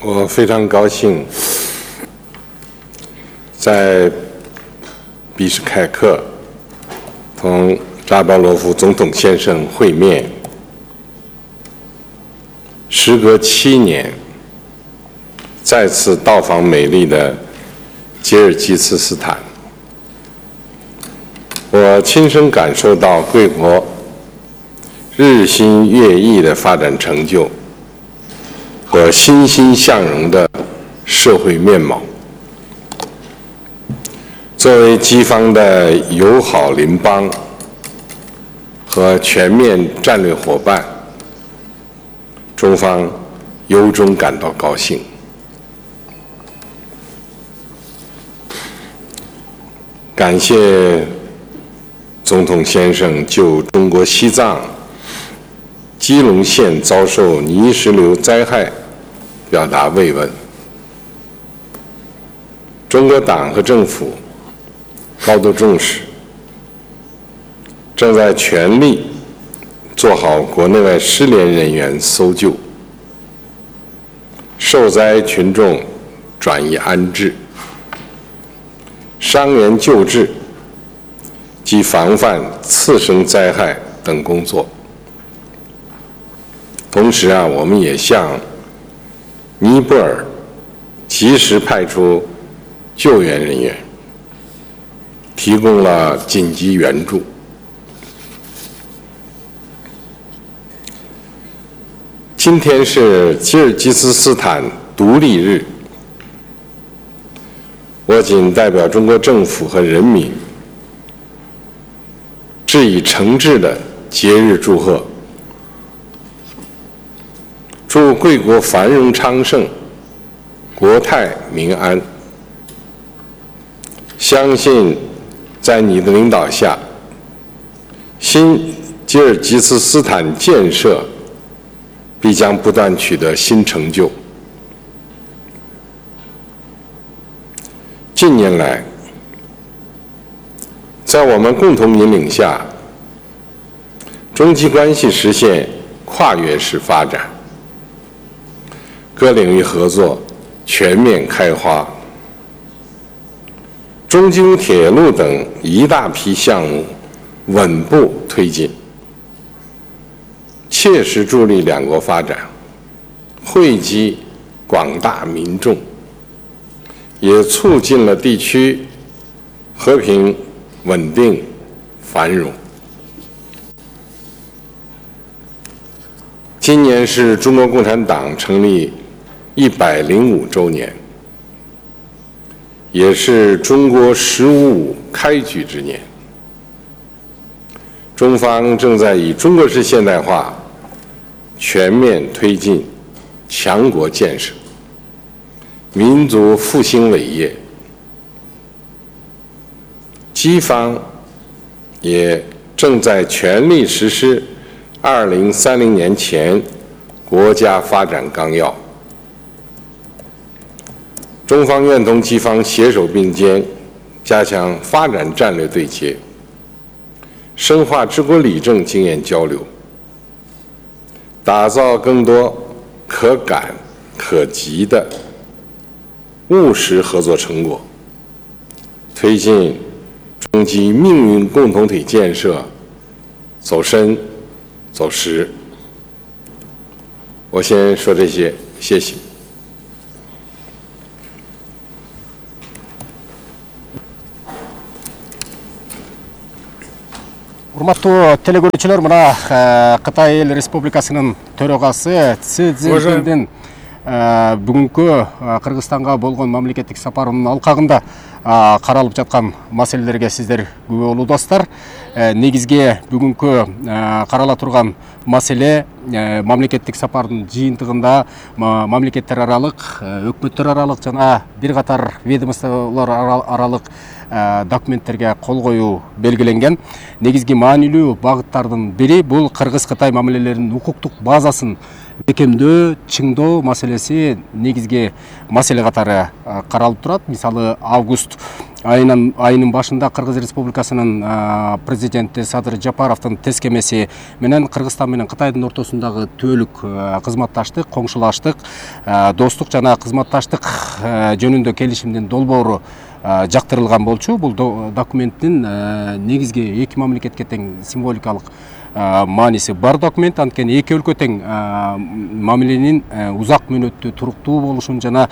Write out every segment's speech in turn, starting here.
我非常高兴在比什凯克同扎巴罗夫总统先生会面。时隔7年，再次到访美丽的吉尔吉斯斯坦，我亲身感受到贵国日新月异的发展成就和欣欣向荣的社会面貌。作为基方的友好邻邦和全面战略伙伴，中方由衷感到高兴。感谢总统先生就中国西藏基隆县遭受泥石流灾害表达慰问。中国党和政府高度重视，正在全力做好国内外失联人员搜救、受灾群众转移安置、伤员救治及防范次生灾害等工作。同时我们也向尼泊尔及时派出救援人员，提供了紧急援助。今天是吉尔吉斯斯坦独立日，我谨代表中国政府和人民致以诚挚的节日祝贺，祝贵国繁荣昌盛，国泰民安。相信在你的领导下，新吉尔吉斯斯坦建设必将不断取得新成就。近年来，在我们共同引领下，中吉关系实现跨越式发展，各领域合作全面开花，中京铁路等一大批项目稳步推进，切实助力两国发展，惠及广大民众，也促进了地区和平、稳定、繁荣。今年是中国共产党成立105周年，也是中国“15+5”开局之年。中方正在以中国式现代化全面推进强国建设、民族复兴伟业。基方也正在全力实施2030年前国家发展纲要。中方愿同基方携手并肩，加强发展战略对接，深化治国理政经验交流，打造更多可感可及的务实合作成果，推进中基命运共同体建设走深走实。我先说这些，谢谢。Урматтуу телекөрүүчүлөр, мына Кытай Эл Республикасынын төрагасы Си Цзиньпиндин бүгүнкү Кыргызстанга болгон мамлекеттик сапарынын алкагында каралып жаткан маселелерге сиздер күбө болуңуздар. Негизги бүгүнкү карала турган маселе мамлекеттик сапардын жыйынтыгында мамлекеттер аралык, өкмөттөр аралык жана бир катар ведомстволор аралык документтерге кол коюу белгиленген. Негизги маанилүү багыттардын бири бул Кыргыз-Кытай мамилелеринин укуктук базасын бекемдөө, чыңдоо маселеси негизги маселе катары каралып турат. Мисалы, август айынын башында Кыргыз Республикасынын президенти Садыр Жапаровдун тескемеси менен Кыргызстан менен Кытайдын ортосундагы түбөлүк кызматташтык, коңшулаштык, достук жана кызматташтык жөнүндө келишимдин долбоору жактырылган болчу. Бул документтин негизги эки мамлекетке тең символикалык мааниси бар документ. Анткени эки өлкө тең мамиленин узак мөөнөттүү туруктуу болушун жана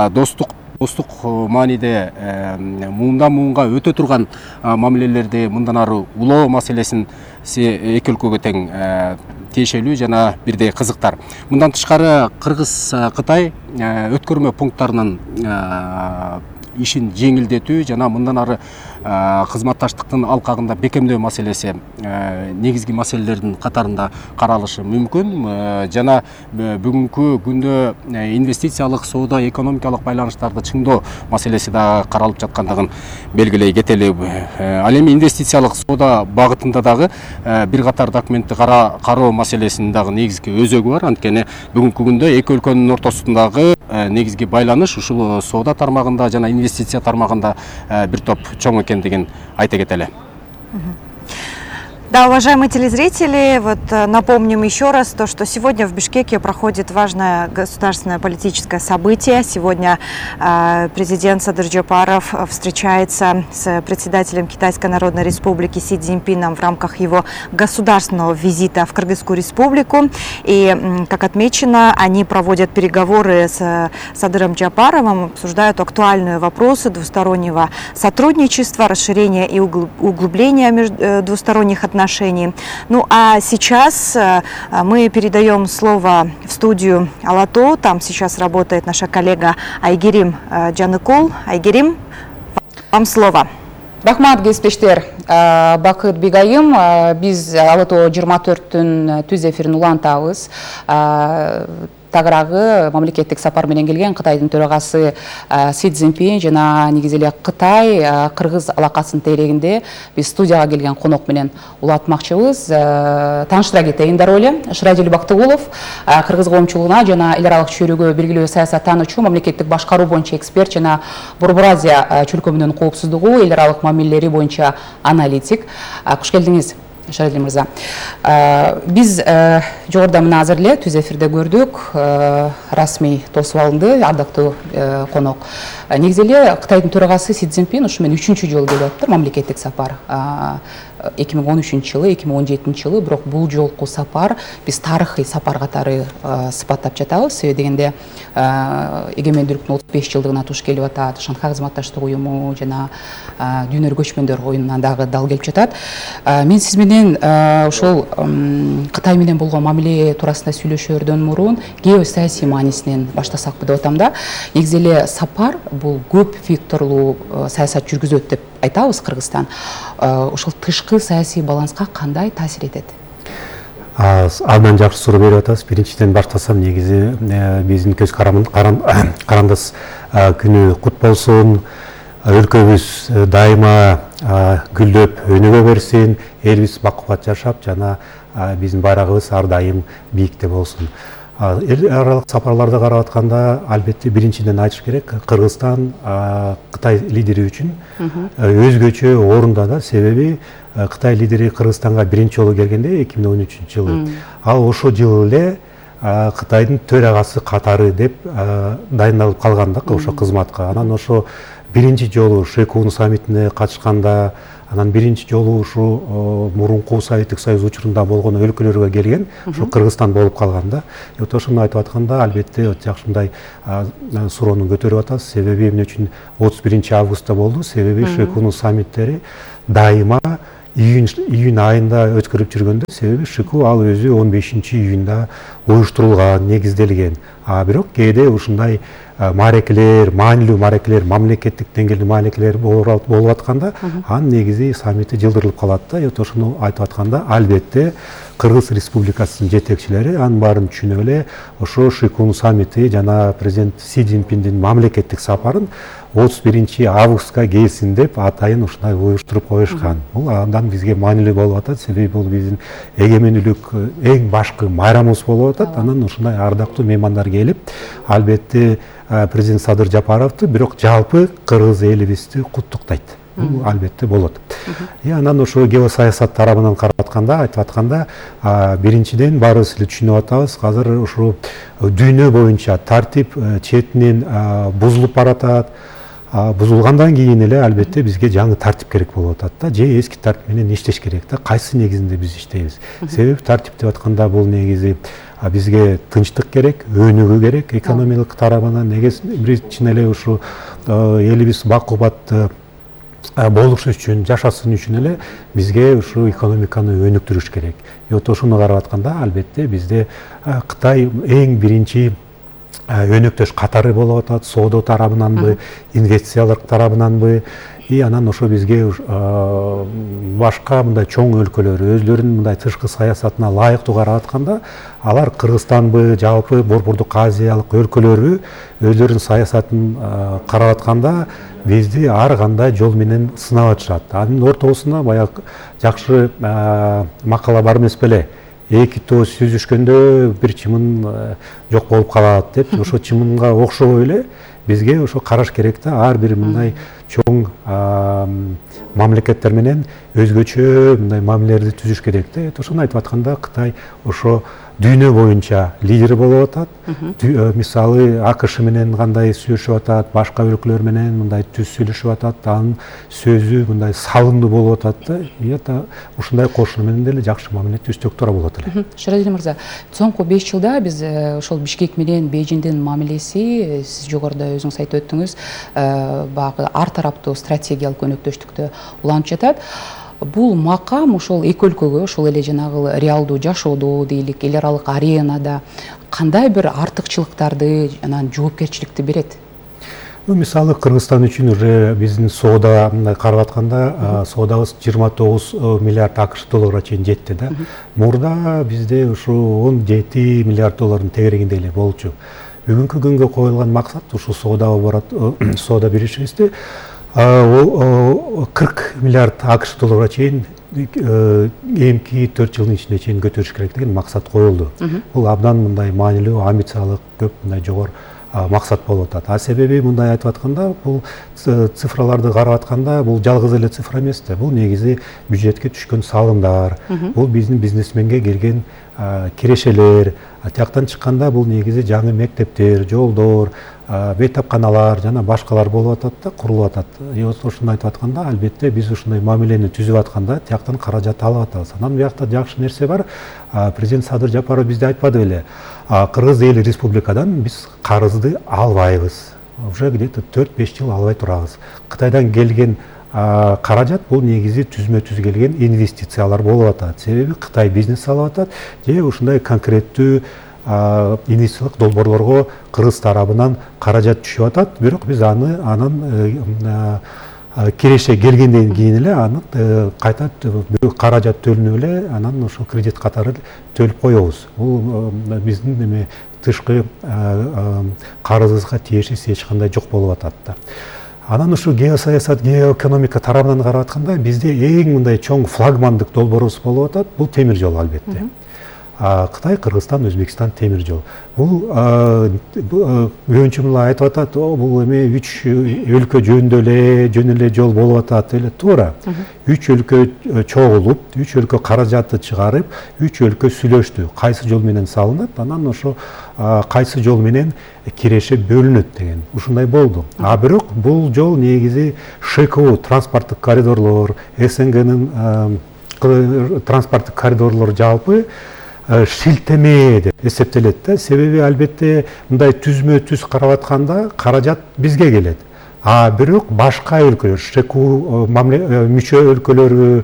достук мааниде муундан муунга өтө турган мамилелерди мындан ары улоо маселесин эки өлкөгө тең тиешелүү жана бирдей кызыктар. Мындан тышкары Кыргыз-Кытай өткөрмө пункттарынын ишин жеңилдетүү жана мындан ары кызматташтыктын алкагында бекемдөө маселеси негизги маселелердин катарында каралышы мүмкүн. Жана бүгүнкү күндө инвестициялык, соода, экономикалык байланыштарды чыңдоо маселеси да каралып жаткандыгын белгилей кетели. Ал эми инвестициялык соода багытында дагы бир катар документти кароо маселесинин дагы негизги өзөгү бар. Анткени бүгүнкү күндө эки өлкөнүн ортосундагы негизги байланыш ушул соода тармагында жана инвестиция тармагында бир топ чоң экендигин айта кетели. Да, уважаемые телезрители, напомним еще раз то, что сегодня в Бишкеке проходит важное государственное политическое событие. Сегодня президент Садыр Жапаров встречается с председателем Китайской Народной Республики Си Цзиньпином в рамках его государственного визита в Кыргызскую Республику. И, как отмечено, они проводят переговоры с Садыром Жапаровым, обсуждают актуальные вопросы двустороннего сотрудничества, расширения и углубления двусторонних отношений. Ну а сейчас мы передаем слово в студию Алато. Там сейчас работает наша коллега Айгерим Жаныкул. Айгерим, вам слово. Рахмат кесиптештер. Бакыт Бегайым, биз Алато 24-түн түз эфирин улантабыз. Тагыраагы мамлекеттик сапар менен келген Кытайдын төрагасы Си Цзиньпин жана негизи эле Кытай Кыргыз алакасынын тегерегинде биз студияга келген конок менен улатмакчыбыз. Тааныштыра кетейин дароо эле. Шырадил Бактыгулов Кыргыз коомчулугуна жана эл аралык чөйрөгө белгилүү саясаттануучу, мамлекеттик башкаруу боюнча эксперт жана Борбор Азия чөлкөмүнүн коопсуздугу, эл аралык мамилелери боюнча аналитик. Куш келдиңиз, Шарадил мырза. Биз жогоруда мына азыр эле түз эфирде көрдүк, расмий тосуп алынды, ардактуу конок. Негизи эле Кытайдын төрагасы Си Цзиньпин ушу менен 3-чү жолу келип атыптыр мамлекеттик сапар. 2013-жылы, 2017-жылы, бирок бул жолку сапар биз тарыхый сапар катары сыпаттап жатабыз. Себеби дегенде эгемендүүлүктүн 35 жылдыгына туш келип атат, Шанхай кызматташтык уюму жана дүйнөлүк көчмөндөр оюнуна дагы дал келип жатат. Мен сиз менен ошол Кытай менен болгон мамиле туурасында сүйлөшөөрдөн мурун геосаясий маанисинен баштасакпы деп атам да. Негизи эле сапар бул көп векторлуу саясат жүргүзөт деп айтабыз Кыргызстан. Ошол тышкы саясий баланска кандай таасир этет? Абдан жакшы суроо берип атасыз. Биринчиден баштасам, негизи биздин көз карандас күнү кут болсун. Өлкөбүз дайыма гүлдөп өнүгө берсин, элибиз бакубат жашап жана биздин байрагыбыз ар дайым бийикте болсун. Эл аралык сапарларды карап атканда, албетте биринчиден айтыш керек, Кыргызстан Кытай лидери үчүн өзгөчө орунда да. Себеби Кытай лидери Кыргызстанга биринчи жолу келгенде 2013-жылы. Ал ошол жылы эле Кытайдын төрагасы катары деп дайындалып калганда ошо кызматка. Анан ошо биринчи жолу Шекун саммитине катышканда, анан биринчи жолу ушу мурунку Советтик Союз учурунда болгон өлкөлөргө келген, ушу Кыргызстан болуп калган да. Ошону айтып атканда, албетте жакшымдай суроону көтөрүп атасыз. Себеби эмне үчүн 31 августта болду? Себеби Шекун саммиттери дайыма июнь айында өткөрүп жүргөндө, себеби Шику ал өзү 15-июнда уюштурулган, негизделген. Бирок кээде ушундай маарекелер, маанилүү маарекелер, мамлекеттик деңгээлде маарекелер болуп атканда, анын негизи саммити жылдырылып калат да. Ошону айтып атканда, албетте Кыргыз Республикасынын жетекчилери анын баарын түшүнүп эле ошо Шикун саммити жана президент Си Цзиньпиндин мамлекеттик сапарын 31 августка келсин деп атайын ушундай уюштуруп коюшкан. Бул андан бизге маанилүү болуп атат, себеби бул биздин эгемендүүлүк эң башкы майрамыбыз болуп атат. Анан ушундай ардактуу меймандар келип, албетте президент Садыр Жапаровду, бирок жалпы кыргыз элибизди куттуктайт. Бул албетте болот. Анан ошо геосаясат тарабынан карап атканда, айтып атканда, биринчиден баарыбыз эле түшүнүп атабыз, азыр ушул дүйнө боюнча тартип четинен бузулуп баратат. Бузулгандан кийин эле албетте бизге жаңы тартип керек болуп атат да, же эски тартип менен иштеш керек да. Кайсы негизинде биз иштейбиз? Себеби тартип деп атканда бул негизи бизге тынчтык керек, өнүгүү керек, экономикалык тарабынан биринчиден эле ушу элибиз бакубат болуш үчүн, жашасын үчүн эле бизге ушу экономиканы өнүктүрүш керек. Вот ошону карап атканда албетте бизде Кытай эң биринчи өнөктөш катары болуп атат, соода тарабынанбы, инвестициялык тарабынанбы, анан ошо бизге башка мындай чоң өлкөлөр өзлөрүнүн мындай тышкы саясатына ылайыктуу карап атканда, алар Кыргызстанбы, жалпы Борбордук Азиялык өлкөлөрбү өзлөрүнүн саясатын карап атканда бизди ар кандай жол менен сынап атышат. Анын ортосунда баягы жакшы макала бар эмес беле? Эки тоо сүзүшкөндө бир чымын жок болуп калат деп, ошо чымынга окшобой эле бизге ошо караш керек да, ар бир мындай чоң мамлекеттер менен өзгөчө мындай мамилелерди түзүш керек да. Ошону айтып атканда Кытай ошо дүйнө боюнча лидер болуп атат. Мисалы АКШ менен кандай сүйлөшүп атат, башка өлкөлөр менен мындай түз сүйлөшүп атат, анын сөзү мындай салымдуу болуп атат да. Ушундай кошуну менен деле жакшы мамиле түзсөк туура болот эле. Шарадил мырза, соңку 5 жылда биз ошол Бишкек менен Бейжиңдин мамилеси, сиз жогоруда өзүңүз айтып өттүңүз, баягы ар тараптуу стратегиялык өнөктөштүктө уланып жатат. Бул макам ошол эки өлкөгө, ошол эле жанагы реалдуу жашоодо дейлик, эл аралык аренада кандай бир артыкчылыктарды, анан жоопкерчиликти берет? Мисалы Кыргызстан үчүн уже биздин соода мындай карап атканда, соодабыз 29 миллиард АКШ долларга чейин жетти да. Мурда бизде ушу 17 миллиард доллардын тегерегинде эле болчу. Бүгүнкү күнгө коюлган максат ушу соода беришибизди 40 миллиард АКШ долларга чейин эмки 4 жылдын ичинде чейин көтөрүш керек деген максат коюлду. Бул абдан мындай маанилүү, амбициялык, көп мындай жогору максат болуп атат. Себеби мындай айтып атканда, бул цифраларды карап атканда, бул жалгыз эле цифра эмес да. Бул негизи бюджетке түшкөн салымдар, бул биздин бизнесменге келген кирешелер, тияктан чыкканда бул негизи жаңы мектептер, жолдор, бейтапканалар жана башкалар болуп атат да, курулуп атат. Ошону айтып атканда, албетте биз ушундай мамилени түзүп атканда тияктан каражат алып атабыз. Анан биякта жакшы нерсе бар. Президент Садыр Жапаров бизде айтпады беле? Кыргыз Эл Республикадан биз карызды албайбыз. Уже где-то 4-5 жыл албай турабыз. Кытайдан келген каражат бул негизи түзмө-түз келген инвестициялар болуп атат. Себеби Кытай бизнес алып атат, же ушундай конкреттүү инвестициялык долбоорлорго Кыргыз тарабынан каражат түшүп атат. Бирок биз анын киреше келгенден кийин эле аны кайта каражат төлөнүп эле, анан ошо кредит катары төлөп коебуз. Бул биздин тышкы карызыбызга тиешеси эч кандай жок болуп атат да. Анан ушу геосаясат, геоэкономика тарабынан карап атканда бизде эң мындай чоң флагмандык долбоорубуз болуп атат. Бул темир жол албетте. Кытай, Кыргызстан, Өзбекстан темир жол. Бул өңчүмүлөр айтып атат, бул эме 3 өлкө жөн эле жол болуп атат, эле туура. 3 өлкө чогулуп, 3 өлкө каражатты чыгарып, 3 өлкө сүйлөштү. Кайсы жол менен салынат, анан ошо кайсы жол менен киреше бөлүнөт деген. Ушундай болду. Бирок бул жол негизи ШКУ, транспорттук коридорлор, СНГнын транспорттук коридорлору жалпы шилтеме деп эсептелет да. Себеби албетте мындай түзмө-түз карап атканда каражат бизге келет. Бирок башка өлкөлөр, ШКУ мүчө өлкөлөрү,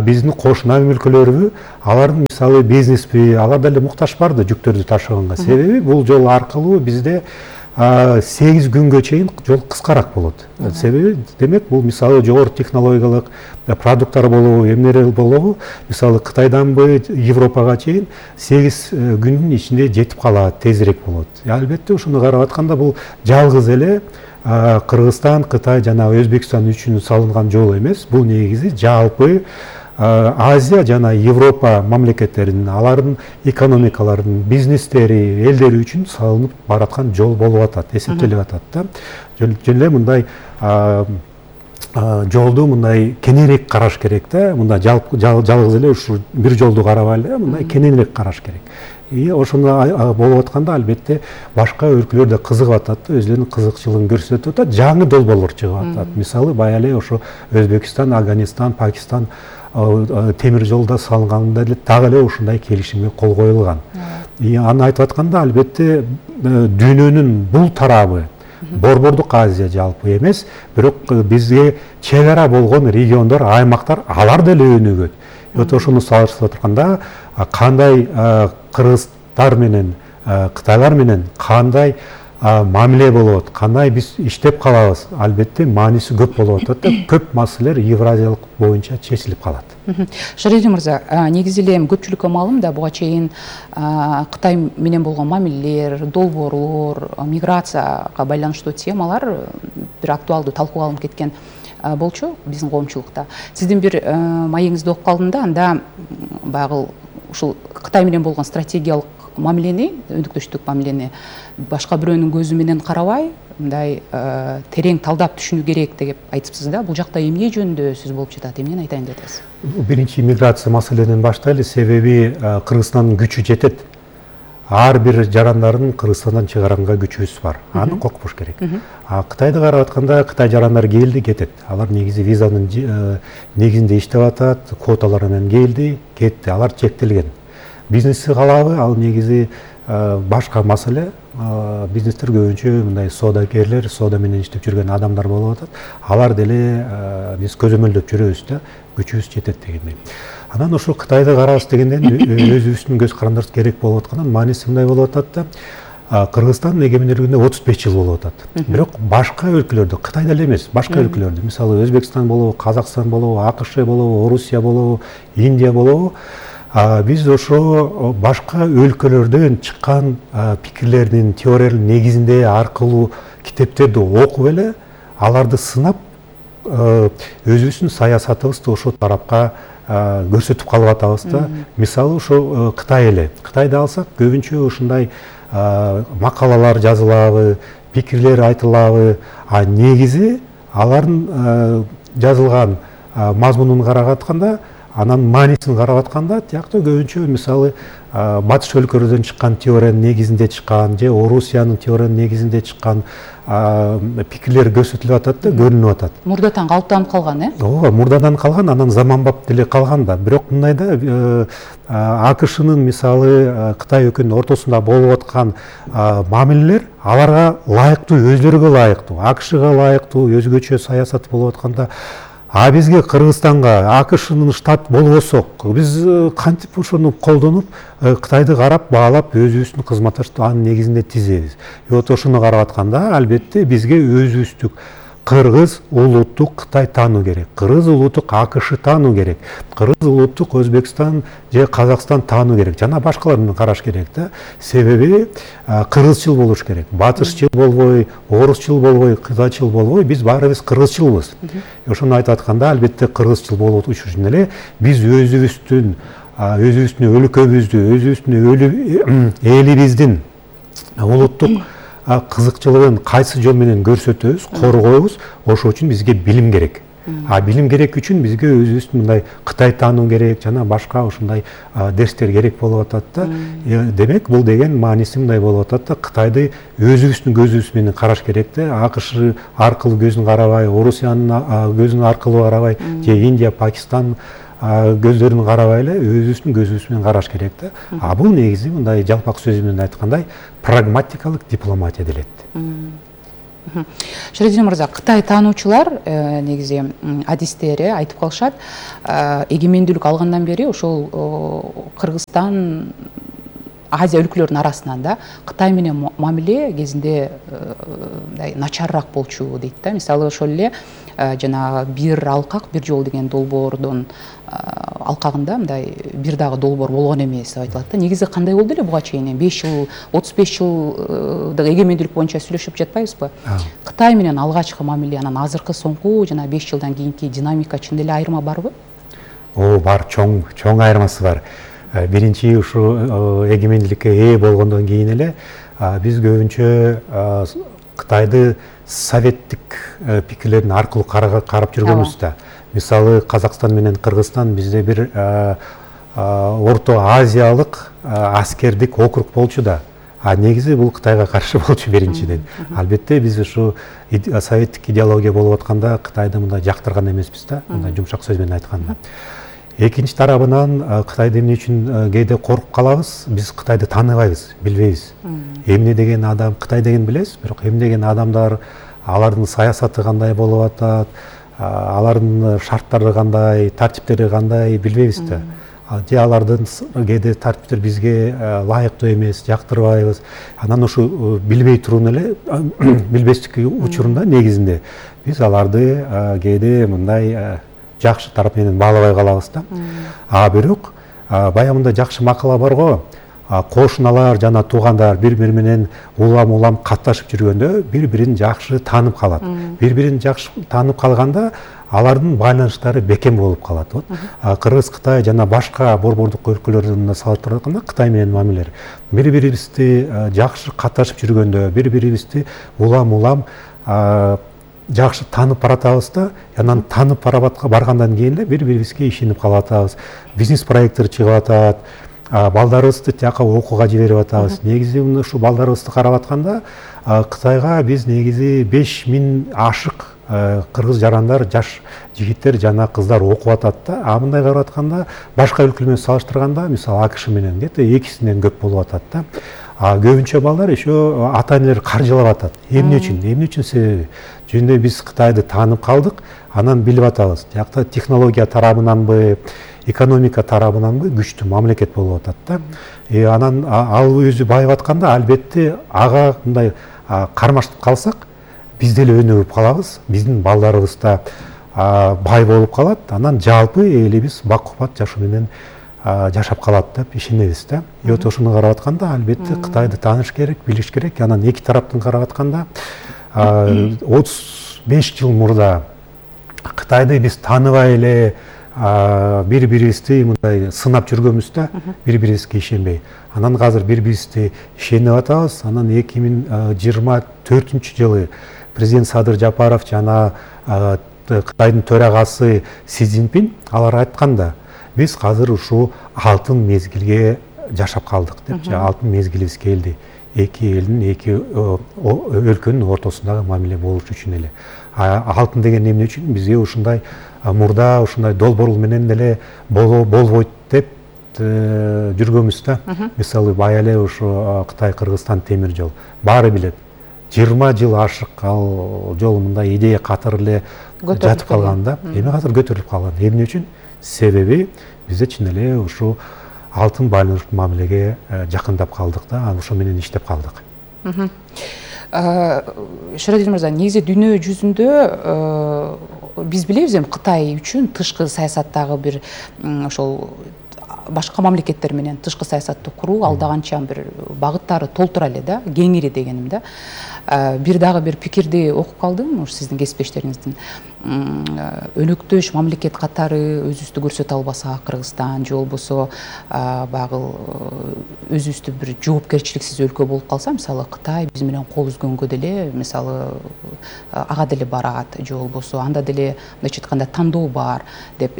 биздин кошуна өлкөлөрү, алардын мисалы бизнеспи, алар деле муктаж бар да жүктөрдү ташыганга. Себеби бул жол аркылуу бизде 8 күнгө чейин жол кыскараак болот. Себеби демек бул мисалы жогору технологиялык продукттар болобу, эмнелер болобу, мисалы Кытайданбы Европага чейин 8 күндүн ичинде жетип калат, тезирээк болот. Албетте ушуну карап атканда бул жалгыз эле Кыргызстан, Кытай жана Өзбекстан үчүн салынган жол эмес. Бул негизи жалпы Азия жана Европа мамлекеттеринин, алардын экономикаларынын, бизнестери, элдери үчүн салынып бараткан жол болуп атат, эсептелип атат да. Жөн эле мындай жолду мындай кененирээк караш керек да. Мындай жалгыз эле ушу бир жолду карабай эле мындай кененирээк караш керек. Ошондой болуп атканда албетте башка өлкөлөр да кызыгып атат да, өзлөрүнүн кызыкчылыгын көрсөтүп атат, жаңы долбоорлор чыгып атат. Мисалы баягы эле ошо Өзбекстан, Афганистан, Пакистан темир жолда салынганда эле дагы эле ушундай келишимге кол коюлган. Аны айтып атканда албетте дүйнөнүн бул тарабы Борбордук Азия жалпы эмес, бирок бизге чек ара болгон региондор, аймактар алар деле өнүгөт. Ошону салыштырып атканда кандай кыргыздар менен, кытайлар менен кандай мамиле болот, кандай биз иштеп калабыз, албетте мааниси көп болуп атат да, көп маселелер Евразиялык боюнча чечилип калат. Шариди мырза, негизи эле көпчүлүккө маалым да, буга чейин Кытай менен болгон мамилелер, долбоорлор, миграцияга байланыштуу темалар бир актуалдуу талкууга алынып кеткен болчу биздин коомчулукта. Сиздин бир маегиңизди окуп калдым да, анда баягы ушул Кытай менен болгон стратегиялык мамилени, өнүктүштүк мамилени башка бирөөнүн көзү менен карабай, мындай терең талдап түшүнүү керек деп айтыпсыз да. Бул жакта эмне жөнүндө сөз болуп жатат, эмнени айтайын деп атасыз? Биринчи миграция маселеден баштайлы, себеби Кыргызстандын күчү жетет. Ар бир жарандарын Кыргызстандан чыгаранга күчүбүз бар. Аны коркпош керек. Кытайды карап атканда Кытай жарандары келди, кетет. Алар негизи визанын негизинде иштеп атат, квоталар менен келди, кетти. Алар чектелген. Бизнести калабы, ал негизи башка маселе. Бизнестер көбүнчө мындай соодагерлер, соода менен иштеп жүргөн адамдар болуп атат. Алар деле биз көзөмөлдөп жүрөбүз да, күчүбүз жетет дегендей. Анан ошо Кытайды карабыз дегенден өзүбүздүн көз карандарыбыз керек болуп аткандан мааниси мындай болуп атат да. Кыргызстандын эгемендүүлүгүнө 35 жыл болуп атат. Бирок башка өлкөлөрдө, Кытайда эле эмес, башка өлкөлөрдө, мисалы Өзбекстан болобу, Казакстан болобу, АКШ болобу, Орусия болобу, Индия болобу, биз ошо башка өлкөлөрдөн чыккан пикирлердин, теориялардын негизинде аркылуу китептерди окуп эле, аларды сынап, өзүбүздүн саясатыбызды ошол тарапка көрсөтүп калып атабыз да. Мисалы ошо Кытай эле. Кытайды алсак, көбүнчө ушундай макалалар жазылабы, пикирлер айтылабы, негизи алардын жазылган мазмунун карап атканда, анан маанисин карап атканда, тиякта көбүнчө мисалы батыш өлкөлөрдөн чыккан теориянын негизинде чыккан же Орусиянын теориянын негизинде чыккан пикирлер көрсөтүлүп атат да, көрүнүп атат. Мурдадан калыптанып калган, Ооба, мурдадан калган, анан заманбап деле калган да. Бирок мындай да, АКШнын мисалы Кытай өлкөнүн ортосунда болуп аткан мамилелер аларга ылайыктуу, өзлөрүгө ылайыктуу, АКШга ылайыктуу өзгөчө саясат болуп атканда, бизге Кыргызстанга АКШнын штат болбосок, биз кантип ошону колдонуп, Кытайды карап, баалап, өзүбүздүн кызматташты анын негизинде тизебиз. Ошону карап атканда, албетте бизге өзүбүздүк кыргыз улуттук Кытай таануу керек, кыргыз улуттук АКШ таануу керек, кыргыз улуттук Өзбекстан же Казакстан таануу керек, жана башкаларын караш керек да. Себеби кыргызчыл болуш керек, батышчыл болбой, орусчул болбой, кытайчыл болбой, биз баарыбыз кыргызчылбыз. Ошону айтып атканда, албетте кыргызчыл болуу үчүн эле биз өзүбүздүн өлкөбүздү, өзүбүздүн элибиздин улуттук кызыкчылыгын кайсы жол менен көрсөтөбүз, коргойбуз, ошол үчүн бизге билим керек. Билим керек үчүн бизге өзүбүздүн мындай Кытай таануу керек, жана башка ушундай дерстер керек болуп атат да. Демек, бул деген мааниси мындай болуп атат да, Кытайды өзүбүздүн көзүбүз менен караш керек да. АКШ аркылуу көзүн карабай, Орусиянын көзүн аркылуу карабай, же Индия, Пакистан көздөрүн карабай эле өзүбүздүн көзүбүз менен караш керек да. Бул негизи мындай жалпак сөз менен айткандай прагматикалык дипломатия делет. Шариди мырза, Кытай таануучулар негизи адистери айтып калышат, эгемендүүлүк алгандан бери ошол Кыргызстан, Азия өлкөлөрүнүн арасынан да Кытай менен мамиле кезинде начарыраак болчу дейт да. Мисалы ошол эле жана бир алкак, бир жол деген долбоордун алкагында мындай бир дагы долбоор болгон эмес деп айтылат да. Негизи кандай болду эле буга чейин? 5 жыл, 35 жылдык эгемендүүлүк боюнча сүйлөшүп жатпайбызбы? Кытай менен алгачкы мамиле, анан азыркы соңку жана 5 жылдан кийинки динамика чын эле айырма барбы? бар, чоң айырмасы бар. Биринчи ушу эгемендүүлүккө ээ болгондон кийин эле биз көбүнчө Кытайды советтик пикирлердин аркылуу карап жүргөнбүз да. Мисалы Казакстан менен Кыргызстан бизде бир Орто Азиялык аскердик округ болчу да. Негизи бул Кытайга каршы болчу биринчиден. Албетте биз ушу советтик идеология болуп атканда Кытайды мындай жактырган эмеспиз да, мындай жумшак сөз менен айтканда. Экинчи тарабынан Кытайды эмне үчүн кээде коркуп калабыз? Биз Кытайды тааныбайбыз, билбейбиз. Эмне деген адам, Кытай деген билебиз, бирок эмне деген адамдар, алардын саясаты кандай болуп атат, алардын шарттары кандай, тартиптери кандай билбейбиз да. Же алардын кээде тартиптер бизге ылайыктуу эмес, жактырбайбыз. Анан ушу билбей турууну эле билбестик учурунда негизинде биз аларды кээде мындай жакшы тарап менен баалабай калабыз да. Бирок баягы жакшы макала бар го. Кошуналар жана туугандар бири-бири менен улам катташып жүргөндө бири-бирин жакшы таанып калат. Бири-бирин жакшы таанып калганда алардын байланыштары бекем болуп калат. Кыргыз, Кытай жана башка борбордук өлкөлөрдөн салыштырып атканда Кытай менен мамилелер бири-бирибизди жакшы катташып жүргөндө, бири-бирибизди улам жакшы таанып баратабыз да, анан таанып баргандан кийин эле бири-бирибизге ишенип калып атабыз. Бизнес проекттер чыгып атат, балдарыбызды тияка окууга жиберип атабыз. Негизи ушу балдарыбызды карап атканда Кытайга биз негизи 5000 ашык кыргыз жарандар, жаш жигиттер жана кыздар окуп атат да. Мындай карап атканда башка өлкөлөр менен салыштырганда, мисалы АКШ менен где-то 2-синен көп болуп атат да. Көбүнчө балдар еще ата-энелер каржылап атат. Эмне үчүн себеби? Жөнүндө биз Кытайды таанып калдык, анан билип атабыз. Жакта технология тарабынанбы, экономика тарабынанбы күчтүү мамлекет болуп атат да. Анан ал өзү байып атканда, албетте ага мындай кармашып калсак, биз деле өнүгүп калабыз, биздин балдарыбыз да бай болуп калат. Анан жалпы элибиз бак-кубат жашоо менен жашап калат деп ишенебиз да. Ошону карап атканда албетте Кытайды тааныш керек, билиш керек. Анан эки тараптан карап атканда 35 жыл мурда Кытайды биз тааныбай эле бири-бирибизди мындай сынап жүргөнбүз да, бири-бирибизге ишенбей. Анан азыр бири-бирибизди ишенип атабыз. Анан 2024-жылы президент Садыр Жапаров жана Кытайдын төрагасы Си Цзиньпин алар айтканда, биз азыр ушу алтын мезгилге жашап калдык деп, алтын мезгилибиз келди. Эки элдин, эки өлкөнүн ортосундагы мамиле болуш үчүн эле. Алтын деген эмне үчүн? Бизге ушундай мурда ушундай долбоорлор менен деле болбойт деп жүргөнбүз да. Мисалы бая эле ушу Кытай-Кыргызстан темир жол. Баары билет. 20 жыл ашык ал жол мындай идея катары эле жатып калган да. Эми азыр көтөрүлүп калган. Эмне үчүн? Себеби бизде чын эле ушу алтын байланыштуу мамилеге жакындап калдык да, ошо менен иштеп калдык. Шарадин мырза, негизи дүйнө жүзүндө биз билебиз эми Кытай үчүн тышкы саясаттагы бир ошол башка мамлекеттер менен тышкы саясатты куруу алда канча бир багыттары толтура эле да, кеңири дегеним да. Бир дагы бир пикирди окуп калдым, сиздин кесиптештериңиздин. Өнөктөш мамлекет катары өзүбүздү көрсөтө албаса Кыргызстан же болбосо багы өзүбүздү бир жоопкерчиликсиз өлкө болуп калса, мисалы Кытай биз менен кол үзгөнгө деле, мисалы ага деле барат, же болбосо анда деле мындайча айтканда тандоо бар деп,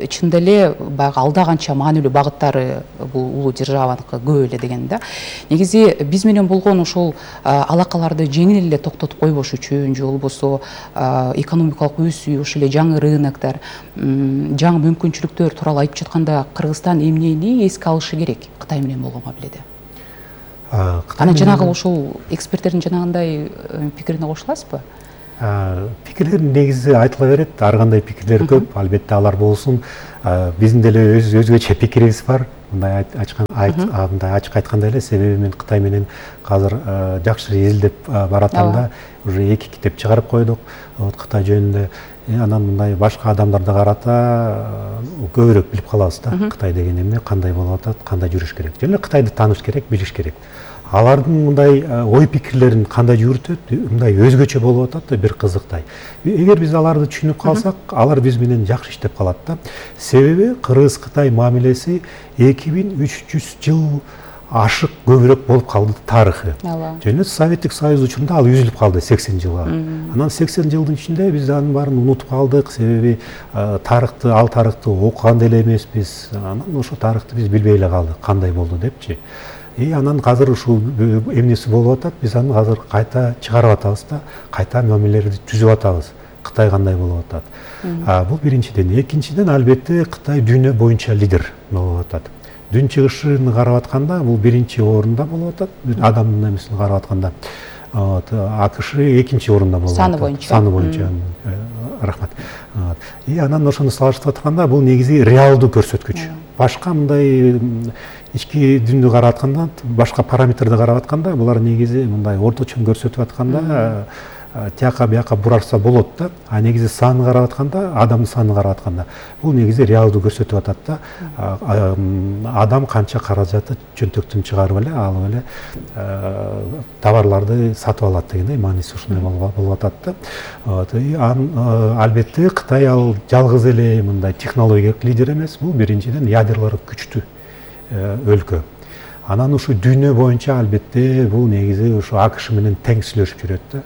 чында эле баягы алда канча маанилүү багыттары бул улуу державаныкы көп эле деген да. Негизи биз менен болгон ошол алакаларды жеңил эле токтотуп койбош үчүн, же болбосо экономикалык өсүү, ошол эле жаңы рыноктор, жаңы мүмкүнчүлүктөр тууралуу айтып жатканда Кыргызстан эмнени эске алышы керек Кытай менен болгон мамиледе? Анан жанагы ошол эксперттердин жанагындай пикирине кошуласызбы? Пикирлер негизи айтыла берет, ар кандай пикирлер көп, албетте алар болсун. Биздин деле өзгөчө пикирибиз бар. Мындай ачык айтканда эле, себеби мен Кытай менен азыр жакшы изилдеп баратам, уже 2 китеп чыгарып койдук Кытай жөнүндө. Анан мындай башка адамдарды карата көбүрөөк билип калабыз да, Кытай деген эмне, кандай болуп атат, кандай жүрүш керек. Жана Кытайды тааныш керек, билиш керек. алардын мындай ой пикирлерин кандай жүрүтөт, мындай өзгөчө болуп атат да, бир кызыктай. Эгер биз аларды түшүнүп калсак, алар биз менен жакшы иштеп калат да. Себеби Кыргыз-Кытай мамилеси 2300 жыл ашык көбүрөөк болуп калды тарыхы. Жана Советтик Союз учурунда ал үзүлүп калды 80 жылга. Анан 80 жылдын ичинде биз анын баарын унутуп калдык, себеби тарыхты, ал тарыхты окуган деле эмеспиз. Анан ошо тарыхты биз билбей эле калдык, кандай болду депчи. Анан азыр ушул эмнеси болуп атат, биз аны азыр кайта чыгарып атабыз да, кайта мамилелерди түзүп атабыз. Кытай кандай болуп атат. Бул биринчиден. Экинчиден, албетте Кытай дүйнө боюнча лидер болуп атат. Дүн чыгышын карап атканда бул биринчи орунда болуп атат. Адамдын эмесин карап атканда АКШ экинчи орунда болуп атат. Саны боюнча. Рахмат. Анан ошону салыштырып атканда бул негизи реалдуу көрсөткүч. Башка мындай ички дүндү карап атканда, башка параметрди карап атканда, булар негизи мындай орточон көрсөтүп атканда тияка бияка бурарса болот да. Негизи саны карап атканда, адамдын санын карап атканда, бул негизи реалдуу көрсөтүп атат да. Адам канча каражаты чөнтөктөн чыгарып эле, алып эле товарларды сатып алат дегендей мааниси ушундай болуп атат да. Албетте Кытай ал жалгыз эле мындай технологиялык лидер эмес, бул биринчиден ядерлары күчтүү өлкө. Анан ушу дүйнө боюнча албетте бул негизи ушу АКШ менен тең сүйлөшүп жүрөт да.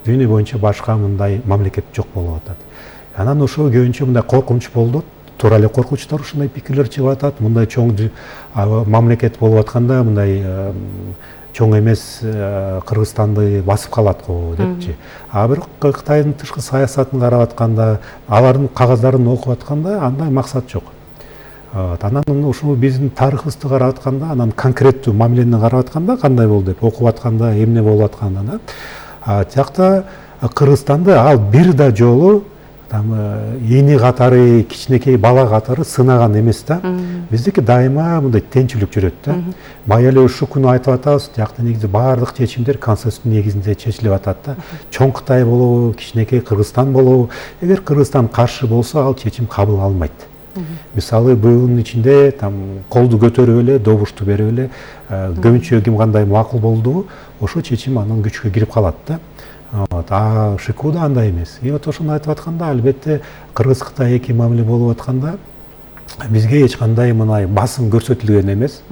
Дүйнө боюнча башка мындай мамлекет жок болуп атат. Анан ошо көбүнчө мындай коркунуч болду. Туура эле коркунучтар ушундай пикирлер чыгып атат. Мындай чоң мамлекет болуп атканда мындай чоң эмес Кыргызстанды басып калат го депчи. Бирок Кытайдын тышкы саясатын карап атканда, алардын кагаздарын окуп атканда андай максат жок. Анан ушул биздин тарыхыбызды карап атканда, анан конкреттүү мамилени карап атканда кандай болду деп окуп атканда, эмне болуп атканда да. Тиякта Кыргызстанды ал бир да жолу эни катары, кичинекей бала катары сынаган эмес да. Биздики дайыма мындай тенчүлүк жүрөт да. Бая эле ушул күнү айтып атабыз, тиякта негизи баардык чечимдер консенсус негизинде чечилип атат да. Чоң Кытай болобу, кичинекей Кыргызстан болобу, эгер Кыргызстан каршы болсо ал чечим кабыл алынбайт. Мисалы быйылдын ичинде колду көтөрүп эле, добушту берип эле, көбүнчө ким кандай макул болду, ошо чечим анан күчкө кирип калат да. ШИКУ да андай эмес. Ошону айтып атканда, албетте Кыргыз-Кытай эки мамиле болуп атканда бизге эч кандай мындай басым көрсөтүлгөн эмес.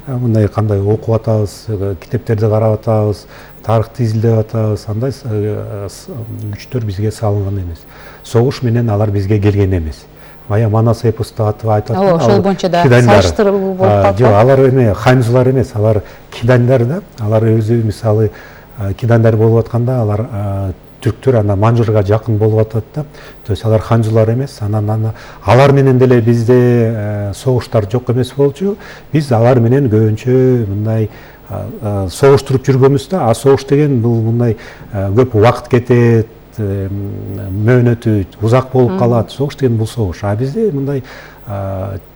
Мындай кандай окуп атабыз, китептерди карап атабыз, тарыхты изилдеп атабыз, андай күчтөр бизге салынган эмес. Согуш менен алар бизге келген эмес. Бая Манас эпосту айтып аткан. Ошол боюнча да салыштыруу болуп калат. Жок, алар эме ханжулар эмес, алар кидандар да. Алар өзү мисалы кидандар болуп атканда алар түрктөр ана Манжурга жакын болуп атат да. То есть алар ханжулар эмес. Анан алар менен деле бизде согуштар жок эмес болчу. Биз алар менен көбүнчө мындай согуштуруп жүргөнбүз да. Согуш деген бул мындай көп убакыт кетет, мөөнөтү узак болуп калат. Согуш деген бул согуш. Бизде мындай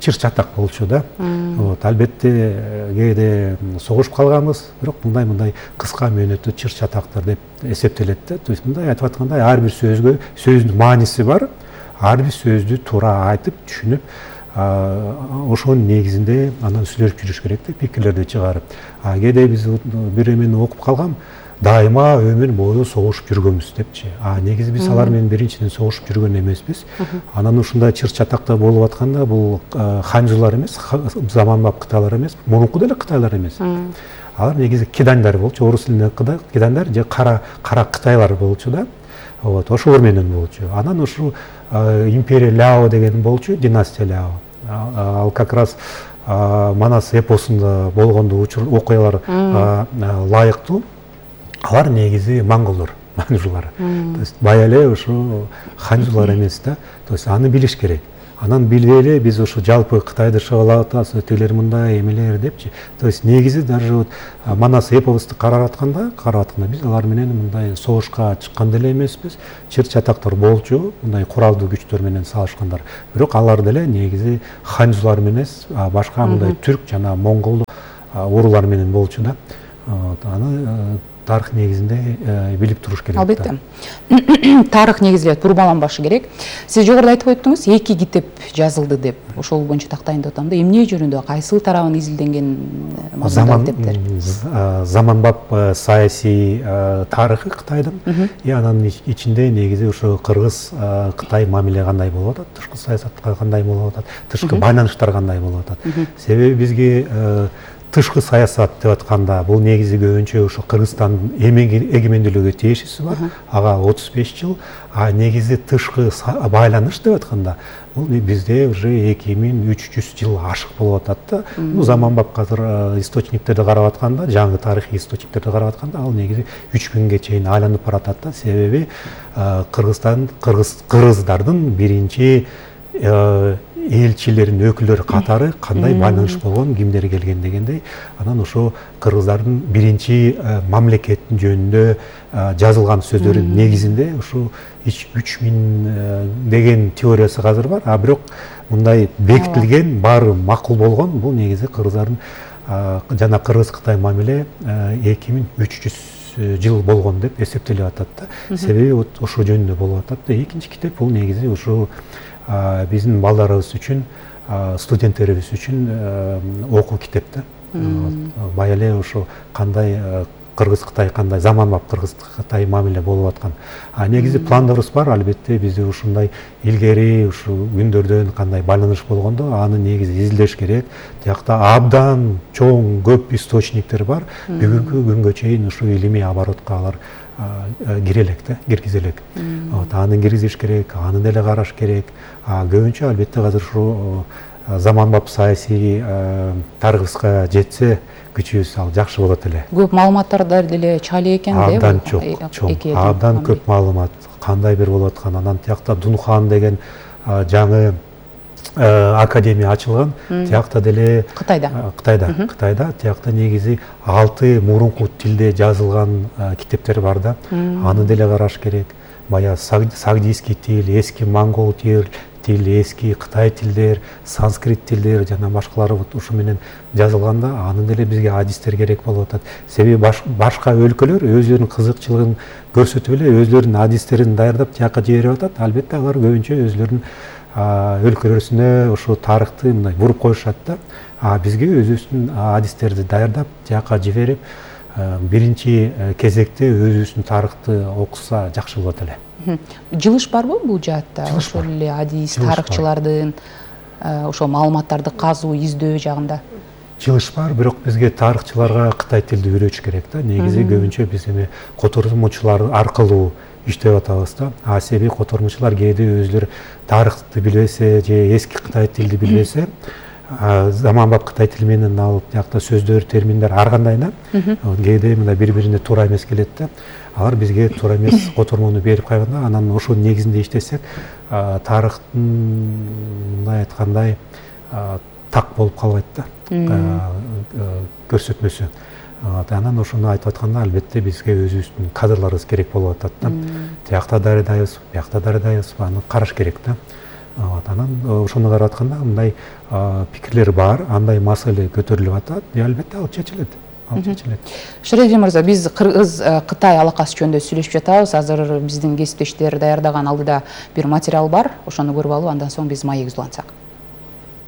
чыр чатак болчу да. Албетте кээде согушуп калганбыз, бирок мындай кыска мөөнөттүү чыр чатактар деп эсептелет да. То есть мындай айтып аткандай ар бир сөзгө сөздүн мааниси бар. Ар бир сөздү туура айтып, түшүнүп, ошонун негизинде анан сүйлөшүп жүрүш керек да, пикирлерди чыгарып. Кээде биз бир эмени окуп калгам, дайыма өмүр бою согушуп жүргөнбүз депчи. Негизи биз алар менен биринчиден согушуп жүргөн эмеспиз. Анан ушундай чыр чатакта болуп атканда бул ханжулар эмес, заманбап кытайлар эмес, мурунку деле кытайлар эмес. Алар негизи кидандар болчу, орус тилинде кидандар же кара кытайлар болчу да. Ошолор менен болчу. Анан ушу империя Ляо деген болчу, династия Ляо. Ал как раз Манас эпосунда болгондо окуялар лайыктуу. Алар негизи монголдор, манжулар. То есть бая эле ушу ханжулар эмес да. То есть аны билиш керек. Анан билбей эле биз ушу жалпы Кытайды шабалап атабыз, өтөлөр мындай эмелер депчи. То есть негизи даже Манас эпосту карап атканда биз алар менен мындай согушка чыккан деле эмеспиз. Чыр чатактар болчу, мындай куралдуу күчтөр менен салышкандар. Бирок алар деле негизи ханжулар эмес, башка мындай түрк жана монгол уруулар менен болчу да. Аны тарых негизинде билип туруш керек. Албетте. Тарых негизделет, бурмаланбашы керек. Сиз жогоруда айтып өттүңүз, 2 китеп жазылды деп. Ошол боюнча тактайында атам да, эмне жөнүндө, кайсы тарабын изилденген мазмундагы китептер? Заманбап саясий тарыхы Кытайдын, анын ичинде негизи ошо Кыргыз-Кытай мамиле кандай болуп атат, тышкы саясатка кандай болуп атат, тышкы байланыштар кандай болуп атат. Себеби бизге тышкы саясат деп атканда бул негизи көбүнчө ошо Кыргызстандын эгемендүүлүгүгө тиешеси бар, ага 35 жыл, а негизи тышкы байланыш деп атканда бул бизде уже 2300 жыл ашык болуп атат да. Заманбап азыр источниктерди карап атканда, жаңы тарыхый источниктерди карап атканда ал негизи 3000ге чейин айланып баратат да. Себеби кыргыздардын биринчи элчилерин өкүлдөрү катары кандай байланыш болгон, кимдер келген дегендей, анан ошо кыргыздардын биринчи мамлекеттин жөнүндө жазылган сөздөрдүн негизинде ошо 3000 деген теориясы азыр бар, а бирок мындай бекитилген, баары макул болгон бул негизи кыргыздардын жана Кыргыз-Кытай мамиле 2300 жыл болгон деп эсептелип атат да. Себеби ошо жөнүндө болуп атат да. Экинчи китеп бул негизи ошо биздин балдарыбыз үчүн, студенттерибиз үчүн окуу китеп да. Бая эле ошо кандай Кыргыз-Кытай, кандай заманбап Кыргыз-Кытай мамиле болуп аткан. Негизи пландарыбыз бар, албетте бизде ушундай илгери ушу күндөрдөн кандай байланыш болгондо аны негизи изилдеш керек. Тиякта абдан чоң көп источниктер бар. Бүгүнкү күнгө чейин ушу илимий оборотко алар киргизелек. Аны киргизиш керек, аны деле караш керек. Көбүнчө албетте азыр ушу заманбап саясий тарыхыбызга жетсе күчүбүз ал жакшы болот эле. Көп маалыматтар деле чали экен да. Абдан чоң, абдан көп маалымат, кандай бир болуп аткан. Анан тиякта Дунхан деген жаңы академия ачылган. Тиякта деле Кытайда тиякта негизи 6 мурунку тилде жазылган китептер бар да. Аны деле караш керек. Бая сагдийский тил, эски монгол тил, эски Кытай тилдер, санскрит тилдер жана башкалары ушу менен жазылганда аны деле бизге адистер керек болуп атат. Себеби башка өлкөлөр өзлөрүнүн кызыкчылыгын көрсөтүп эле өзлөрүнүн адистерин даярдап тияка жиберип атат. Албетте алар көбүнчө өзлөрүнүн өлкөлөрүнө ошо тарыхты мындай буруп коюшат да. Бизге өзүбүздүн адистерди даярдап тияка жиберип, биринчи кезекте өзүбүздүн тарыхты окуса жакшы болот эле. Жылыш барбы бул жаатта? Ошол эле адис тарыхчылардын ошо маалыматтарды казуу, издөө жагында? Жылыш бар, бирок бизге тарыхчыларга кытай тилди үйрөтүш керек да. Негизи көбүнчө биз эми котормочулар аркылуу иштеп атабыз да. Себеби котормочулар кээде өзлөрү тарыхты билбесе же эски Кытай тилди билбесе, заманбап Кытай тили менен алып тиякта сөздөр, терминдер ар кандай да. Кээде мына бири-бирине туура эмес келет да. Алар бизге туура эмес котормону берип койгондо, анан ошол негизинде иштесек, тарыхтын мындай айткандай так болуп калбайт да. Көрсөтмөсү. Анан ошону айтып атканда албетте бизге өзүбүздүн кадрларыбыз керек болуп атат да. Тиякта дарыдайбыз, биякта дарыдайбыз, аны караш керек да. Анан ошону карап атканда мындай пикирлер бар, андай маселе көтөрүлүп атат, албетте ал чечилет. Шередин мырза, биз Кыргыз-Кытай алакасы жөнүндө сүйлөшүп жатабыз. Азыр биздин кесиптештер даярдаган алдыда бир материал бар, ошону көрүп алып, андан соң биз маегибизди улантсак.